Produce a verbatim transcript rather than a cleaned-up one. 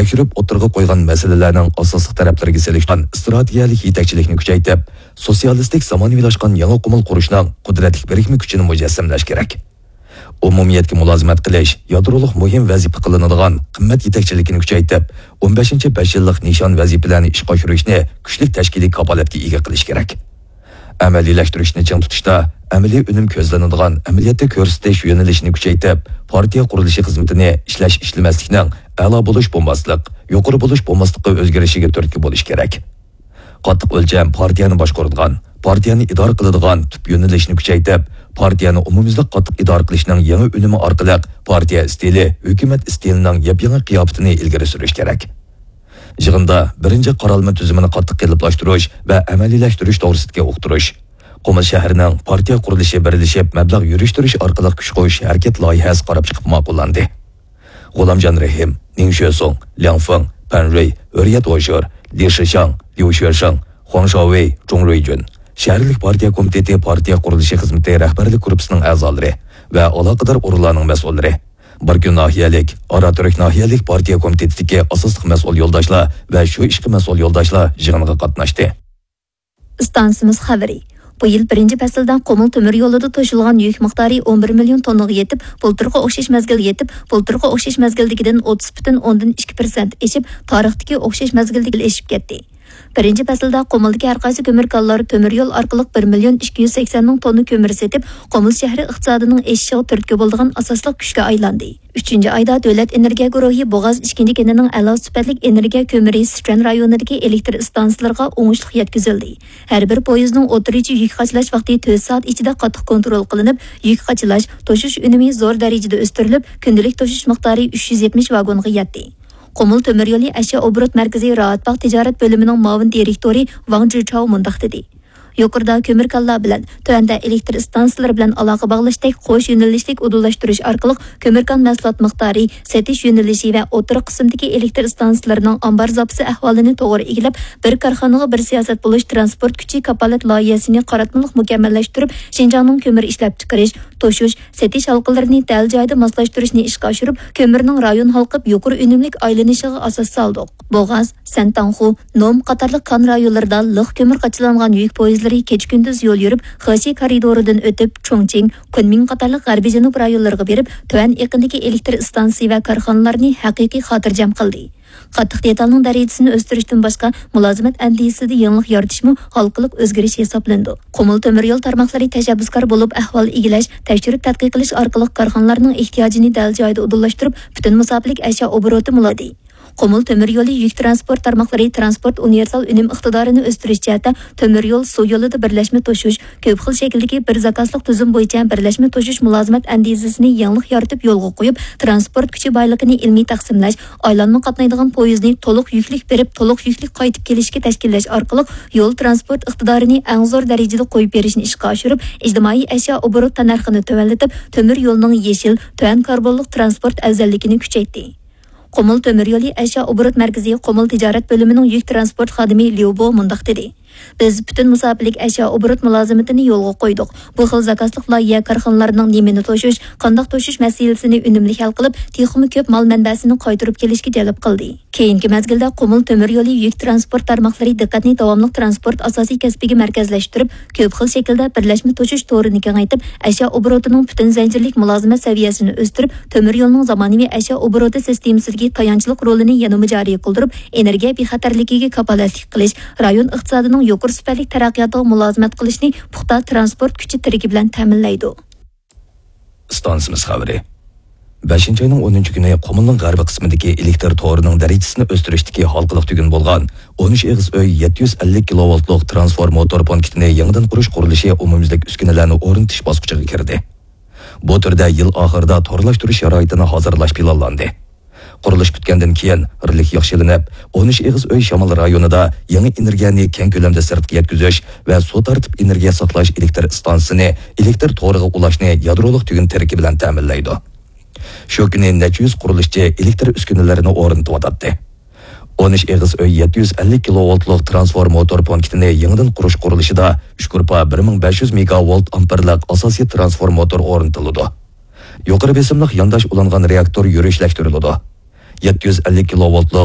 تەكشۈرۈپ ئوتتۇرىغا قويغان مەسىلىلەرنىڭ ئاساسلىق تەرەپلىرىگە سېلىشقان ئىستراتېگىيەلىك يېتەكچىلىكنى كۈچەيتىپ، سوتسىيالىستىك زامانىۋىلاشقان يېڭى قۇمۇل قۇرۇشنىڭ قۇدرەتلىك بىرىكمە كۈچىنى مۇجەسسەملەش كېرەك. ئومۇمىيەتكە مۇلازىمەت قىلىش يادرولۇق مۇھىم ۋەزىپە قىلىنىدىغان قىممەت يېتەكچىلىكىنى كۈچەيتىپ، ئون بەشىنچى بەش يىللىق نىشان ۋەزىپىلەرنى ئىشقا ئاشۇرۇشنى كۈچلۈك تەشكىلىي كاپالەتكە ئىگە قىلىش كېرەك. ئەمەلىيلەشتۈرۈشنى چىڭ تۇتۇشتا، ئەمەلىي ئۈنۈم كۆزلىنىدىغان ئەمەلىيەتتە كۆرسىتىش يۆنىلىشىنى كۈچەيتىپ، پارتىيە قۇرۇلۇشى خىزمىتىنى ئىشلەش-ئىشلىمەسلىكنىڭ ئەلا بولۇش بولماسلىق، يۇقىرى بولۇش بولماسلىققا ئۆزگىرىشىگە تۈرتكە بولۇش كېرەك. قاتتىق ئۆلچەم پارتىيەنى باشقۇرىدىغان، پارتىيەنى ئىدارە قىلىدىغان تۈپ يۆنىلىشنى كۈچەيتىپ، پارتىيەنى ئومۇميۈزلۈك قاتتىق ئىدارە قىلىشنىڭ يېڭى ئۈنۈمى ئارقىلىق پارتىيە ئىستىلى، ھۆكۈمەت ئىستىلىنىڭ يېپيېڭى قىياپىتىنى ئىلگىرى سۈرۈش كېرەك. يىغىندا بىرىنچى قارالما تۈزۈمىنى قاتتىق قېلىپلاشتۇرۇش ۋە ئەمەلىيلەشتۈرۈش توغرىسىدىكى ئۇقتۇرۇش، قۇمۇل شەھىرىنىڭ پارتىيە قۇرۇلۇشى بىرلىشىپ مەبلەغ يۈرۈشتۈرۈش ئارقىلىق كۈچ قوشۇش ھەرىكەت لايىھەسى قاراپ چىقىپ ماقۇللاندى. غۇلامجان رېھىم، نىڭ شۆسۇڭ، لياڭ فېڭ، پەن رۇي، ھۆرىيەت ۋوشۇر، لى شىشاڭ، ليۇ شۆشېڭ، خۇاڭ شاۋېي، جۇڭ رۇيجۈن، شەھەرلىك پارتىيە كومىتېتى پارتىيە قۇرۇلۇشى خىزمىتى رەھبەرلىك گۇرۇپپىسىنىڭ ئەزالىرى ۋە ئالاقىدار ئورۇنلارنىڭ مەسئۇللىرى، باركۈن ناھىيەلىك، ئاراتۈرك ناھىيەلىك پارتىيە كومىتېتىدىكى ئاساسلىق مەسئۇل يولداشلار ۋە شۇ ئىشقا مەسئۇل يولداشلار يىغىنغا قاتناشتى. ئىستانسىمىز خەۋىرى. بۇ يىل بىرىنچى پەسىلدە قۇمۇل تۆمۈر يولىدا توشۇلغان يۈك مىقدارى ئون بىر مىليون توننىغا يېتىپ، بۇلتۇرقى ئوخشاش مەزگىلگە يېتىپ، بۇلتۇرقى ئوخشاش مەزگىلدىكىدىن ئوتتۇز پۈتۈن ئوندىن ئىككى پىرسەنت ئېشىپ، تارىختىكى ئوخشاش مەزگىلدىكىدىن ئېشىپ كەتتى. بىرىنچى پەسىلدە قۇمۇلدىكى ھەر قايسى كۆمۈر كانلار تۆمۈر يول ئارقىلىق بىر مىليون ئىككى يۈز سەكسەن مىڭ توننا كۆمۈر سېتىپ، قۇمۇل شەھىرى ئىقتىسادىنىڭ ئېشىشىغا تۈرتكە بولىدىغان ئاساسلىق كۈچكە ئايلاندى. ئۈچىنچى ئايدا دۆلەت ئېنېرگىيە گۇرۇھى بوغاز ئىككىنچى كېنىنىڭ ئەلا سۈپەتلىك ئېنېرگىيە كۆمۈرى سىچۈەن رايونىدىكى ئېلېكتر ئىستانسىلىرىغا ئوڭۇشلۇق يەتكۈزۈلدى. ھەر بىر پويىزنىڭ ئوتتۇرىچە يۈك قاچىلاش ۋاقتى تۆت سائەت ئىچىدە قاتتىق كونترول قىلىنىپ، يۈك قاچىلاش، توشۇش ئۈنۈمى زور دەرىجىدە ئۆستۈرۈلۈپ، كۈندىلىك توشۇش مىقدارى ئۈچ يۈز يەتمىش ۋاگونغا يەتتى. قۇمۇل تۆمۈر يولى ئەشيا ئوبوروت مەركىزى راھەتباغ تىجارەت بۆلۈمىنىڭ مۇئاۋىن دىرېكتورى ۋاڭ جىچاۋ مۇنداق دېدى: يۇقىرىدا كۆمۈر كانلار بىلەن، تۆۋەندە ئېلېكتر ئىستانسىلىرى بىلەن ئالاقە باغلاشتەك قوش يۆنىلىشلىك ئۇدۇللاشتۇرۇش ئارقىلىق كۆمۈر كان مەھسۇلات مىقدارى، سېتىش يۆنىلىشى ۋە ئوتتۇرا قىسىمدىكى ئېلېكتر ئىستانسىلىرىنىڭ ئامبار زاپىسى ئەھۋالىنى توغرا ئىگىلەپ، بىر كارخانىغا بىر سىياسەت بولۇش تىرانسپورت كۈچى كاپالەت لايىھەسىنى قاراتمىلىق مۇكەممەللەشتۈرۈپ، شىنجاڭنىڭ كۆمۈر ئىشلەپچىقىرىش، توشۇش، سېتىش ھالقىلىرىنى دەل جايىدا ماسلاشتۇرۇشنى ئىشقا ئاشۇرۇپ، كۆمۈرنىڭ رايون ھالقىپ يۇقىرى ئۈنۈملۈك ئايلىنىشىغا ئاساس سالدۇق. بوغاز، سەنتاڭخۇ، نوم قاتارلىق كان رايونلىرىدا لىق كۆمۈر قاچىلانغان يۈك پويىزلىرى كېچە-كۈندۈز يول يۈرۈپ، خېشى كارىدورىدىن ئۆتۈپ، چۇڭچىڭ، كۇنمىڭ قاتارلىق غەربىي جەنۇب رايونلىرىغا بېرىپ، تۆۋەن ئېقىندىكى ئېلېكتر ئىستانسىسى ۋە كارخانىلارنى ھەقىقىي خاتىرجەم قىلدى. قاتتىق دېتالنىڭ دەرىجىسىنى ئۆستۈرۈشتىن باشقا، مۇلازىمەت ئەندىزىسىدە يېڭىلىق يارىتىشمۇ ھالقىلىق ئۆزگىرىش ھېسابلىنىدۇ. قۇمۇل تۆمۈر يول تارماقلىرى تەشەببۇسكار بولۇپ، ئەھۋال ئىگىلەش، تەكشۈرۈپ تەتقىق قىلىش ئارقىلىق كارخانىلارنىڭ ئېھتىياجىنى دەل جايىدا ئۇدۇللاشتۇرۇپ، پۈتۈن مۇساپىلىك ئەشيا ئوبوروتى مۇلازىمەت قۇمۇل تۆمۈر يولى يۈك تىرانسپورت تارماقلىرى تىرانسپورت ئۇنىۋېرسال ئۈنۈم ئىقتىدارىنى ئۆستۈرۈش جەھەتتە تۆمۈر يول، سۇ يولىدا بىرلەشمە توشۇش، كۆپ خىل شەكىلدىكى بىر زاكازلىق تۈزۈم بويىچە بىرلەشمە توشۇش مۇلازىمەت ئەندىزىسىنى يېڭىلىق يارىتىپ يولغا قويۇپ، تىرانسپورت كۈچى بايلىقىنى ئىلمىي تەقسىملەش، ئايلانما قاتنايدىغان پويىزنى تولۇق يۈكلۈك بېرىپ، تولۇق يۈكلۈك قايتىپ كېلىشكە تەشكىللەش ئارقىلىق يول تىرانسپورت ئىقتىدارىنى ئەڭ زور دەرىجىدە قويۇپ بېرىشنى ئىشقا ئاشۇرۇپ، ئىجتىمائىي ئەشيا ئوبوروت تەننەرخىنى تۆۋەنلىتىپ، تۆمۈر يولنىڭ يېشىل، تۆۋەن كاربونلۇق تىرانسپورت ئەۋزەللىكىنى كۈچەيتتى. قۇمۇل تۆمۈر يولى ئەشيا ئوبوروت مەركىزى قۇمۇل تىجارەت بۆلۈمىنىڭ يۈك تىرانسپورت خادىمى ليۇ بو مۇنداق دېدى: بىز پۈتۈن مۇساپىلىك ئەشيا ئوبوروت مۇلازىمىتىنى يولغا قويدۇق. بۇ خىل زاكازلىق لايىھە كارخانىلارنىڭ نېمىنى توشۇش، قانداق توشۇش مەسىلىسىنى ئۈنۈملۈك ھەل قىلىپ، تېخىمۇ كۆپ مال مەنبەسىنى قايتۇرۇپ كېلىشكە جەلپ قىلدى. كېيىنكى مەزگىلدە قۇمۇل تۆمۈر يولى يۈك تىرانسپورت تارماقلىرى دىققەتنى داۋاملىق تىرانسپورت ئاساسىي كەسپىگە مەركەزلەشتۈرۈپ، كۆپ خىل شەكىلدە بىرلەشمە توشۇش تورىنى كېڭەيتىپ، ئەشيا ئوبوروتىنىڭ پۈتۈن زەنجىرلىك مۇلازىمەت سەۋىيەسىنى ئۆستۈرۈپ، تۆمۈر يولنىڭ زامانىۋى ئەشيا ئوبوروتى سىستېمىسىدىكى تايانچلىق رولىنى يەنىمۇ جارى قىلدۇرۇپ، ئېنېرگىيە بىخەتەرلىكىگە كاپالەتلىك قىلىش، رايون ئىقتىسادىنىڭ يۇقىرى سۈپەتلىك تەرەققىياتىغا مۇلازىمەت قىلىشنى پۇختا تىرانسپورت كۈچى تىرىكى بىلەن تەمىنلەيدۇ. ئىستانسىمىز خەۋىرى. بەشىنچى ئاينىڭ ئونىنچى كۈنى قۇمۇلنىڭ غەربىي قىسمىدىكى ئېلېكتر تورىنىڭ دەرىجىسىنى ئۆستۈرۈشتىكى ھالقىلىق تۈگۈن بولغان ئون ئۈچ ئېغىز ئۆي يەتتە يۈز ئەللىك كىلوۋولتلۇق تىرانسفورماتور پونكىتىنى يېڭىدىن قۇرۇش قۇرۇلۇشى ئومۇميۈزلۈك ئۈسكۈنىلەرنى ئورنىتىش باسقۇچىغا كىردى. بۇ تۈردە يىل ئاخىرىدا تورلاشتۇرۇش شارائىتىنى ھازىرلاش پىلانلاندى. قۇرۇلۇش پۈتكەندىن كېيىن، رېلىك ياخشىلىنىپ، ئون ئۈچ ئېغىز ئۆي شامال رايونىدا يېڭى ئېنېرگىيەنى كەڭ كۆلەمدە سىرتقا يەتكۈزۈش ۋە سۇ تارتىپ ئېنېرگىيە ساقلاش ئېلېكتر ئىستانسىسىنى ئېلېكتر تورىغا ئۇلاشنى يادرولۇق تۈگۈن تىرىكى بىلەن تەمىنلەيدۇ. شۇ كۈنى نەچچە يۈز قۇرۇلۇشچى ئېلېكتر ئۈسكۈنىلىرىنى ئورنىتىۋاتاتتى. ئون ئۈچ ئېغىز ئۆي يەتتە يۈز ئەللىك كىلوۋولتلۇق تىرانسفورماتور پونكىتىنى يېڭىدىن قۇرۇش قۇرۇلۇشىدا ئۈچ گۇرۇپپا بىر مىڭ بەش يۈز مېگاۋولت ئامپېرلىق ئاساسىي تىرانسفورماتور ئورنىتىلىدۇ. يۇقىرى بېسىملىق يانداش ئۇلانغان رېئاكتور يۈرۈشلەشتۈرۈلىدۇ. يەتتە يۈز ئەللىك كىلوۋولتلۇق